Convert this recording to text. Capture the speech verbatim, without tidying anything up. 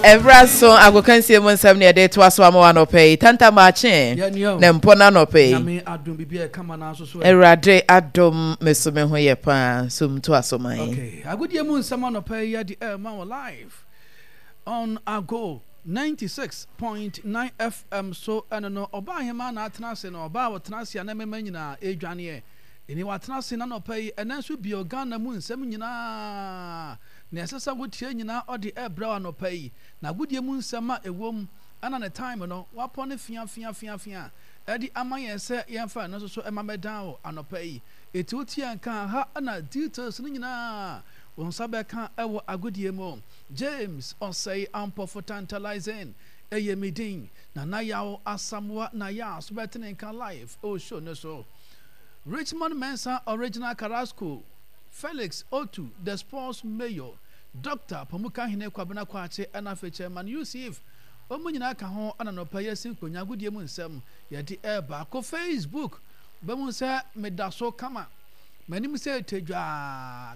Ɛberɛ so agokansie mu nsɛm ne yɛde toa so ama wo anɔpa yi. Tanta maakye ne mpɔ no anɔpa yi. Nyame adom, biribi a ɛkama no nso so ɛ. Awurade adom, me so me ho yɛ paa. So mtoa so man. Okay, agodie mu nsɛm anɔpa yi yɛde ɛma wɔ live on Ago ninety-six point nine F M so. Ɛno no, ɔbaa ahema na atena ase no, ɔbaa a wɔtena ase a na mmarima nyinaa ɛredwaneɛ ɛni watena ase na anɔpa yi. Ɛnɛ nso bio, Ghana mu nsɛm nyinaa na ɛsɛ sɛ wotie nyinaa, ɔde ɛrebrɛ wɔ anɔpa yi. Na agodie mu nsɛm a ɛwɔ mu ɛna ne time no wapɔ ne fia fia fia fia ɛde ama yɛn sɛ yɛmfa ɛno nso so ɛma mɛdan wɔ anɔpa yi. Ɛti wotie nka ha ɛna details no nyinaa wɔn nsa bɛka ɛwɔ agodie mu. James Ɔsɛe Ampɔfo Tantalizing ɛyɛ mi din. Nana Yaw Asamoa na yɛ aso bɛtene nka live ɛwɔ show no so. Richmond Mensa, Original Carrasco, Felix Otu, the sports mayor, Doctor Pamukahene Kwabena Kwakye, ɛna afei Chairman Yusuf, wɔn nyinaa ka ho. Ɛna nɔpɛ yɛsi nkonnwa agodie mu nsɛm yɛde ɛɛba. Kɔ Facebook bɛmu sɛ meda so kama m'anim sɛ tedwaa.